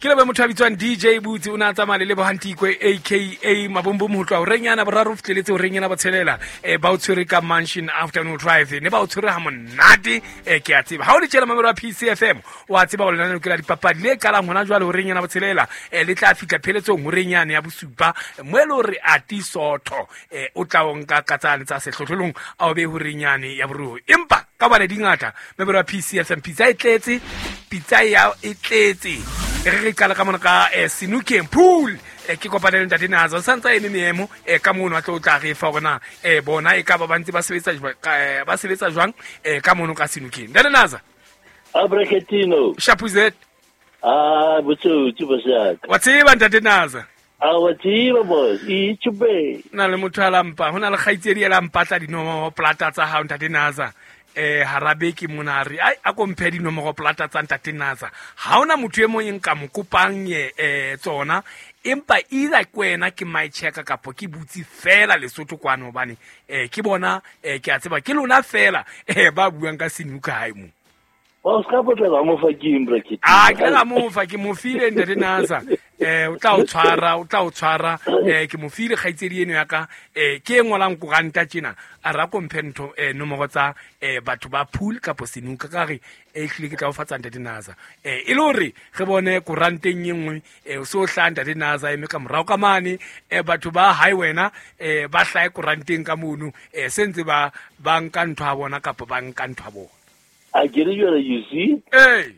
Ke lebe motho a bitswang DJ Butse, o ne a tsamaya le Lebohantikwe aka Mabombom ho tloha horeng yana boraro ho fihleletse horeng yana botshelela. Ba o tshwere ka Mansion Afternoon Drive, ne ba o tshwere ha monate. Ke a tseba ha o le tjela mamelo wa PCFM, o a tseba hore lenaneo ke la dipapadi le qalang hona jwale horeng yana botshelela, le tla fihla pheletsong horeng yane ya bosupa, mo e le hore ati sotho o tla o nka ka tsane tsa sehlohlolong a o be horeng yane ya boruo. Empa ka bane di ngata memero ya PCFM, pitsa e tletse, pitsa ya e tletse. Re qala ka mona ka Senukeng pool. Ke kopane le ntate Naza, o santse a eme meemo ka mono, a tlo tla re fa hore na bona e ka ba ba ntse ba sebetsa ba sebetsa jwang ka mono ka Senukeng. Ntate Naza. Abraketino. Shapuzet. Ah, botsotsi bosaka. Wa tseba ntate Naza. A wa tseba boss, e tshube. Na le motho a lampa, ho na le kgaitsedi e lampatla dinomoro plata tsa hao ntate Naza. Hara beke mona a re, ai, a ko mphe dinomoro plata tsa ntate Naza. Ha hona motho e mong e nka mo kopang tsona, empa either ke wena ke my checker kapo ke butse fela Lesotho kwano, hobane ke bona ke a tseba ke lona fela ba buang ka senuka hae mo. Wa ska potlela mo fa ke eng bracket. Ah, ke la mo fa ke mo file ntate Naza. O tla o tshwara, o tla o tshwara. Ke mo file kgaitsedi eno ya ka. Ke e ngolang koranta tjena. A ra ko mphe ntho nomoro tsa batho ba pool kapo senuka ka re ehlile ke tla o fatsa ntate Naza. E le hore re bone koranteng e nngwe o so hla ntate Naza eme ka morao ka mane, batho ba hae wena ba hlahe koranteng ka mono, se ntse ba ba nka ntho ya bona kapa ba nka ntho ya bona. A ke re jwale, you see? Ee.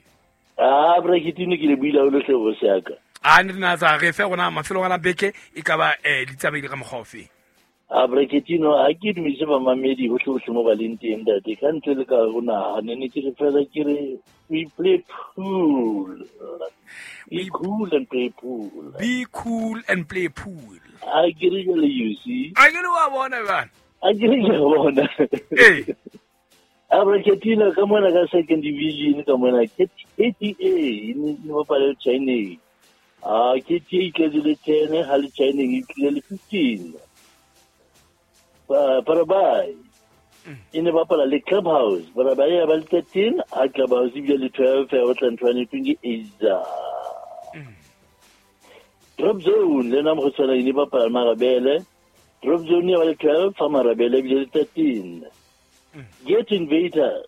Ah, braketino ke le buile haholo hle boss ya ka. A ne Naza re fe rona mafelong a la beke e ka ba di tsamaile ka mokgwa ofe? A braketino ha ke dumedise bamamedi hohle hohle mo ba leng teng ntate, ka ntle le ka ho naha ne ne ke re fela ke re we play pool. Be cool and play pool. Be cool and play pool. A ke re jwale, you see? A ke le wa bona bana. A ke re ke bona. Ee. Abraketino ka mona ka second division ka mona ke KTA e ne bapala le China. Ah, KTA e tletse le 10 ha le China e tlile le 15. Parabai e ne bapala le Clubhouse. Parabai ya ba le 13, ha Clubhouse ebile le 12 ya batla ntho ya ke Eiza. Drop Zone le nna mo go tshwana e ne bapala Marabele. Drop Zone ya ba le 12 fa Marabele ebile le 13. Get Invaders,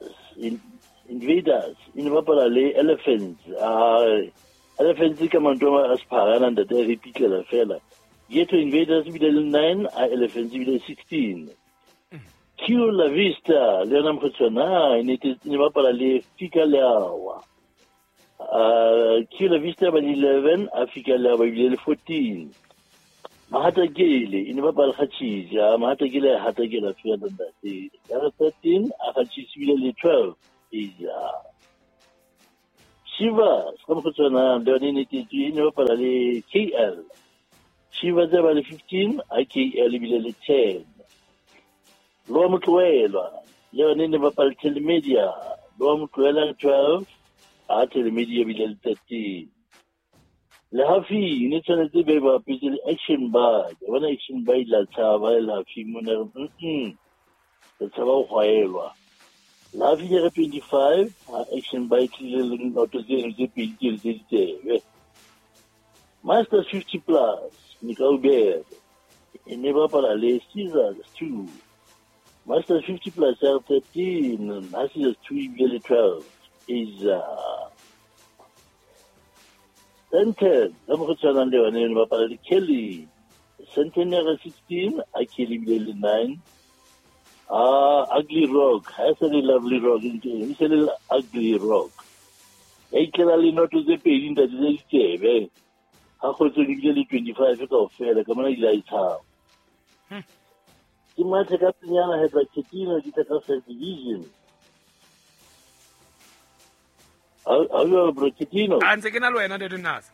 Invaders e ne bapala le Elephants. Elephants ka manto a sephara ntate re pitlela fela. Ghetto Invaders ebile le 9, a Elephants ebile 16. Q La Vista le yona mokgotshwana e ne bapala le Fika Leawa. Q La Vista ba le 11, a Fika Leawa ebile le 14. Mahatakele e ne bapala Kgatšhitši, a Mahatakele a hatakela fela ntate. Ya re 13, a Kgatšhitši ebile le 12. Eja. Shiva, ka mokgotshwana le yone e ne tetswe, e ne bapala le KL. Shiva tse ba le 15, a KL ebile le 10. Loa Motloelwa, le yone e ne bapala Telemedia. Loa Motloela le 12, a Telemedia ebile le 13. Le Hafi ne tshwanetse be ba bapetse le Action Bar. Ke bona Action Bar ile a tshaba le Hafi mona re re tshaba ho gwaelwa. Le Hafi ke re 25, ha Action Bar e tlile le noto tseno tse pedi tseno tse ditsebe. Masters 50 plus, Mikaubere e ne bapala le Caesars 2. Masters 50 plus ya 13, ha Caesars 2 ebile le 12. Isa. Senten, ka mo go tshwanang le yone e ne bapala le Kelly. Senten ya re 16, a Kelly ebile le 9. Ah, Ugly Rock, ha e sa le Lovely Rock, e se le Ugly Rock. Ya itlela le noto tse pedi ntate tse ditsebe. Ha kgotsong ebile le 25 kaofela, ka mona ile a e tshaba. Ke mathe ka penyana he Braketino ke tla ka first division. Ha jwalo Braketino. A ntse ke na le wena ntate Naza.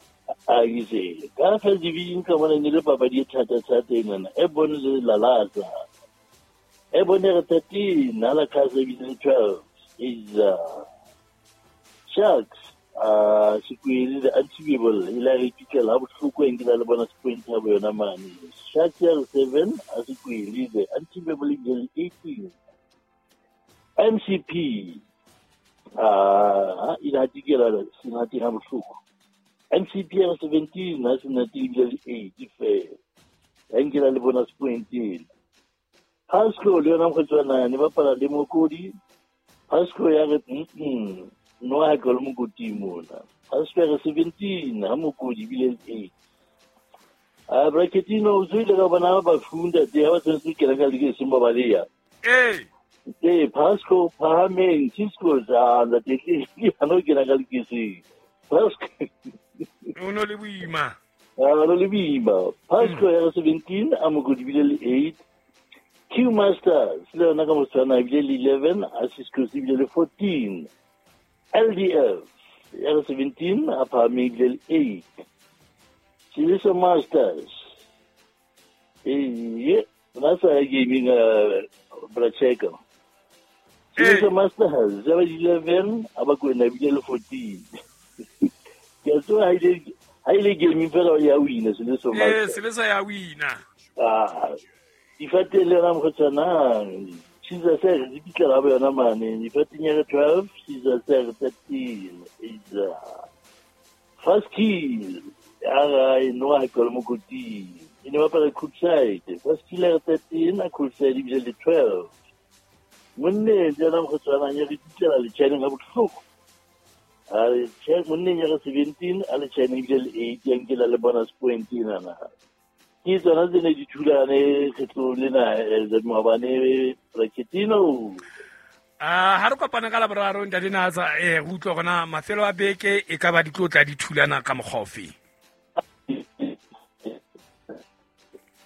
A ke se. Ka first division ka mona ne le papadi e thata thata enana. E bone le Lalasa. E bone re 13, ha la Casa ebile le 12. Isa. Sharks, Sekwele the Untibeable e la re pitlela ha bohloko eng ke la le bona Sekwele thabo yona mane. Sharks ya re 7, a Sekwele the Untibeable ebile le 18. MCP, ile hatikela Senate ha bohloko. MCP ya re 17 a Senate ebile le 8 fela. Ya nkela le bonus point ena. Pasco le yona mokgotsi wa nane bapala le Mokodi. Pasco ya re no ha ke le mokoting mona. Pasco ya re 17 ha Mokodi ebile le 8. A Bracketino o tswile ka bona ba funda te ha ba tshwanetse ho kena ka leke seng ba baleya. Ee. Ee, Pasco phahameng, Cisco ja ntate ke ha no kena ka lekeseng. Pasco o no le boima. A no le boima. Pasco ya re 17 a Mokodi ebile le 8. Q Masters le yona ka motshwana ebile le 11 a Cisco ebile le 14. LDF ya re 17 a phahameng ebile le 8. Siliso Masters. Ee, na sa ya gaming Bracheka. Siliso Masters ya ba 11 a ba kwena ebile le 14. Ke a tseba ha ile gaming fela ya wina Siliso Masters. Ee, Siliso ya wina. Ah, difateng le yona mokgotshwana Caesar se di pitlela ba yona mane difateng ya re 12 Caesar se re 13 Isa First kill ya ga e no ha ke le mokoting e ne bapala Coolside First kill ya re 13 a Coolside ebile le 12 monne jana mokgotshwana ya re pitlela le China ga botlhoko a re monneng ya re 17 a le China ebile le 8 ya nkela le bonus point ena na. Ke tsona tse ne di thulane kgetlong lena maobane Bracketino. Ha re kopane ka Laboraro ntate Natsa, re utlwa gona mafelo a beke e ka ba di tlo tla di thulana ka mokgwa ofe.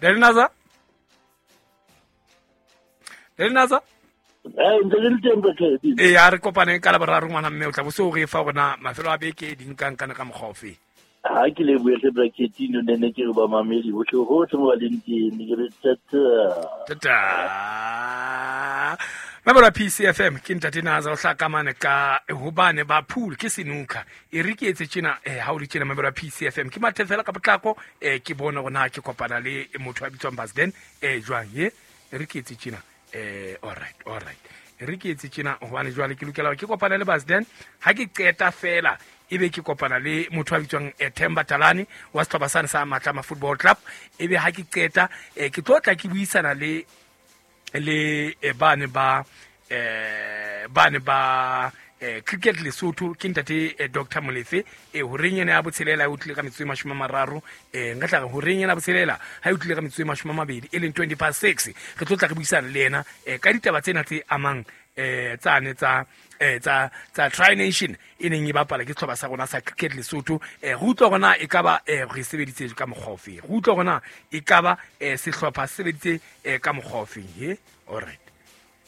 Ntate Natsa? Ntate Natsa? Ntse le teng Bracketino. Ee, ha re kopane ka Laboraro ngwana mme o tla bo se o re fa gona mafelo a beke di nkankane ka mokgwa ofe. Ha ke le buetse Bracketino ne ne ke re ba mamedi bohle hohle mo ba leng teng ke re tata. Tata. Mabora PCFM ke ntate Natsa o hlakamane ka hobane ba pool ke senuka. E re ke etse tjena ha o le tjena mabora PCFM ke mathe fela ka potlako ke bone hore na ke kopana le motho a bitswang Basden jwang ye e re ke etse tjena all right all right. E re ke etse tjena hobane jwale ke lokela ke kopana le Basden ha ke qeta fela ebe ke kopana le motho a bitswang Themba Talane wa sehlopha sane sa Matlama Football Club ebe ha ke qeta ke tlo tla ke buisana le bane ba Cricket Lesotho ke ntate Dr Molefe horeng ena ya botshelela e utlile ka metsotso e 30 nka tla re horeng ena botshelela ha e utlile ka metsotso e 20 e leng 6:20 re tlo tla re buisana le yena ka ditaba tsena tse amang tsane tsa tsa Tri-Nation e neng e bapala ke sehlopha sa rona sa Cricket Lesotho re utlwa hore na e ka ba re sebeditse ka mokgwa ofe, re utlwa hore na e ka ba sehlopha se sebeditse ka mokgwa ofe. He all right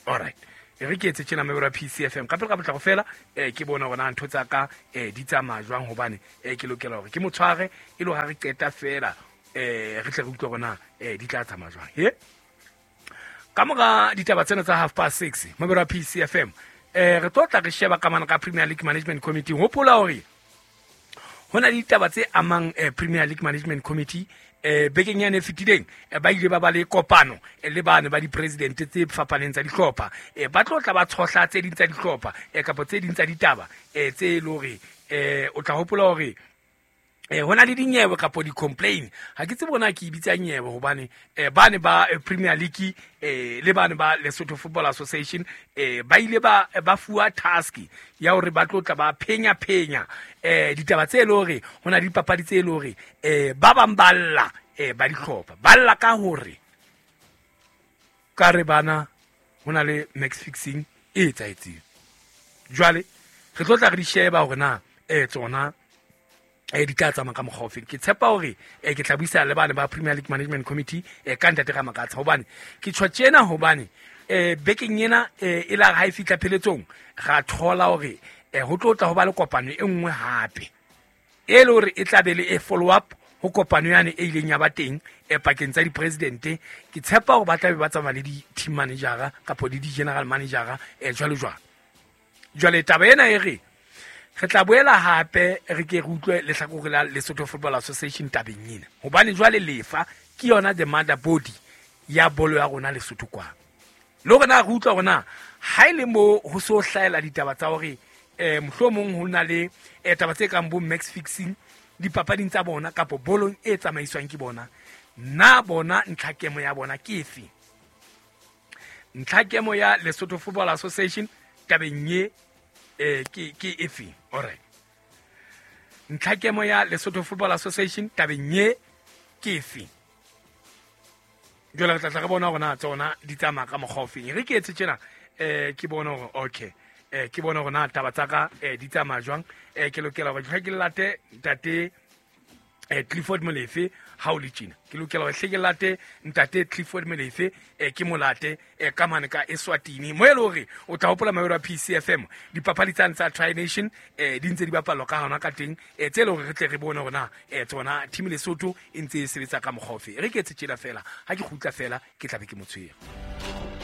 all right e re ke etse tjena mebero ya PCFM ka pele ka potlako fela ke bona hore na ntho tsa ka di tsamaya jwang hobane ke lokela hore ke mo tshware e le ha re qeta fela re tle re utlwe hore na di tla tsamaya jwang. He ka mora ditaba tsena tsa 6:30 mebero ya PCFM re tlo tla re sheba ka mana ka Premier League Management Committee. Hopola hore ho na le ditaba tse amang Premier League Management Committee bekeng yane e fetileng ba ile ba ba le kopano le bane ba di-president tse fapaneng tsa dihlopha ba tlo tla ba tshohla tse ding tsa dihlopha kapa tse ding tsa ditaba tse e le hore o tla hopola hore ho na le dinyewe kapa di-complain. Ha ke tsebe hore na ke e bitsa nyewe hobane bane ba Premier League le bane ba Lesotho Football Association ba ile ba fuwa task ya hore ba tlo tla ba phenya ditaba tse le hore ho na le dipapadi tse le hore ba bang ba lla ba dihlopha ba lla ka hore ka re bana ho na le match fixing e etsahetseng. Jwale re tlo tla re di sheba hore na tsona di tla tsamaya ka mokgwa ofe. Ke tshepa hore ke tla buisana le bane ba Premier League Management Committee ka ntate Ramakatsa hobane ke tjho tjena hobane bekeng ena e la ha e fihla pheletsong ra thola hore ho tlo tla ho ba le kopano e nngwe hape e le hore e tla be le e follow up ho kopano yane e ileng ya ba teng pakeng tsa di-president. Ke tshepa hore ba tla be ba tsamaya le di-team manager kapa le di-general manager jwalo jwalo. Jwale taba ena e re re tla boela hape re ke re utlwe lehlakore la Lesotho Football Association tabeng ena hobane jwale lefa ke yona the mother body ya bolo ya rona Lesotho kwa. Le hore na re utlwa hore na ha ile mo ho so hlahela ditaba tsa hore mohlomong ho na le taba tse kang bo match fixing Dipapading tsa bona kapo bolong e tsamaiswang ke bona, na bona ntlhakemo ya bona ke efe? Ntlhakemo ya Lesotho Football Association tabeng ye ke efe? Alright, ntlhakemo ya Lesotho Football Association tabeng ye ke efe? Jwale re tlatla re bona gore na tsona di tsamaya ka mokgwa ofeng. Re ke etse tjena, ke bone gore okay, ke bone gore na taba tsa ka di tsamaya jwang. Ke lokela gore ke late ntate Clifford Molefe. Ha o le tjena, ke lokela hore hle ke late ntate Clifford Molefe, ke mo late ka mane ka Eswatini, mo e le hore o tla hopola maero a PCFM dipapadi tsane tsa Tri Nation di ntse di bapalwa ka hona ka teng, tse le hore re tle re bone hore na tsona team Lesotho e ntse e sebetsa ka mokgwa ofe. Re ke etse tjena fela, ha ke kgutla fela ke tla be ke mo tshwere.